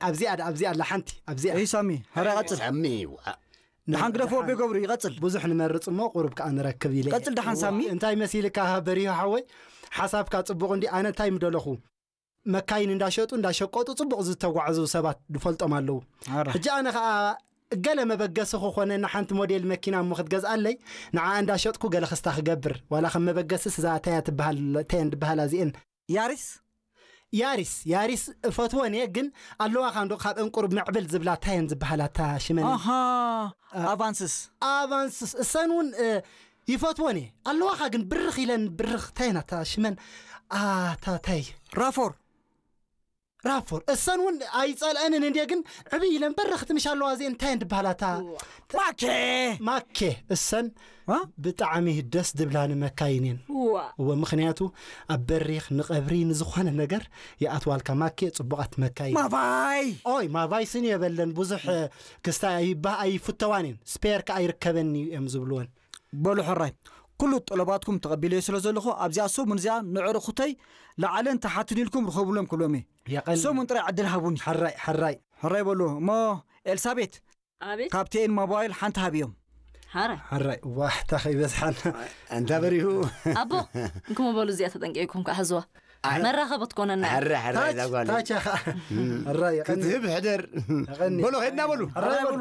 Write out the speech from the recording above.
ኣብዚኣ ኣብዚኣ ኣላ ሓንቲ ኣብዚኣ። እይ ሳሚ፣ ሕራይ ቀጽል። ሳሚ ደሓን ግደፎ፣ ኣቤ ገብሩ ይቐጽል። ብዙሕ ንመርጽ እሞ ቁሩብ ከኣ ንረክብ ኢለ። ቀጽል ደሓን ሳሚ። እንታይ መሲልካ በሪሁ ሓወይ? ሓሳብካ ጽቡቕ እንዲ። ኣነ እንታይ ምደለኹ? መካይን እንዳሸጡ እንዳሸቀጡ ጽቡቕ ዝተጓዕዙ ሰባት ዝፈልጦም ኣለዉ። ሕጂ ኣነ ከኣ ገለ መበገሲ ክኾነ ንሓንቲ ሞዴል መኪና እሞ ክትገዝኣለይ ንዓ እንዳሸጥኩ ገለ ክስታ ክገብር፣ ዋላ ከም መበገስስ እዛ ታያ ትበሃል፣ ታየን ዝበሃላ እዚኤን። ያሪስ ያሪስ ያሪስ እፈትወን እየ፣ ግን ኣለዋኻ እንዶ ካብ እንቁርብ ምዕብል ዝብላ ታየን ዝበሃላ እታ ሽመን። ኣሃ። ኣቫንስስ ኣቫንስስ እሰን እውን እ፣ ይፈትወን እየ። ኣለዋኻ ግን ብርኽ ኢለን ብርኽ ታየን እታ ሽመን ኣታ ታይ ራፎር ራፎር እሰን እውን ኣይጸልአንን እንዴ፣ ግን ዕብይ ኢለን በረኽቲ ምሽ ኣለዋ እዚኤን እንታይ እንድበሃላታ ማኬ ማኬ እሰን ዋ? ብጣዕሚ ደስ ድብላኒ መካይን እየን። ዋ እወ ምኽንያቱ ኣብ በሪኽ ንቐብሪ ንዝኾነ ነገር ይኣትዋልካ። ማኬ ጽቡቓት መካይን። ማቫይ ኦይ ማቫይስን የበለን ብዙሕ ክስታ ኣይባ ኣይፍተዋን እየን። ስፔር ከኣ ይርከበኒ እዮም ዝብልወን። በሉ ሕራይ ኩሉ ጠለባትኩም ተቐቢለዮ ስለ ዘለኹ ኣብዚኣ ሰሙን እዚኣ ንዕርኹተይ ላዕለን ተሓትን ኢልኩም ርኸብሎም ክብሎም እየ። የቐኒ ሰሙን ጥራይ ዕድል ሃቡኒ። ሓራይ ሓራይ ሕራይ በሉ እሞ ኤልሳቤት ኣቤት ካብ ቴኤን ሞባይል ሓንቲ ሃብዮም። ሓራይ ሓራይ ዋሕታ ከይበዝሓና። እንታ በሪሁ ኣቦ እንኩም በሉ እዚኣ ተጠንቂቕኩም ከዓ ሕዝዋ መራኸቢ ትኮነና እያ። ሕረ ሕረ ታች ዛጓል ታች ኸዓ ሓራይ የቐኒ ክትህብ ሕደር የቐኒ በሎ ኸድና በሉ ሓራይ በሉ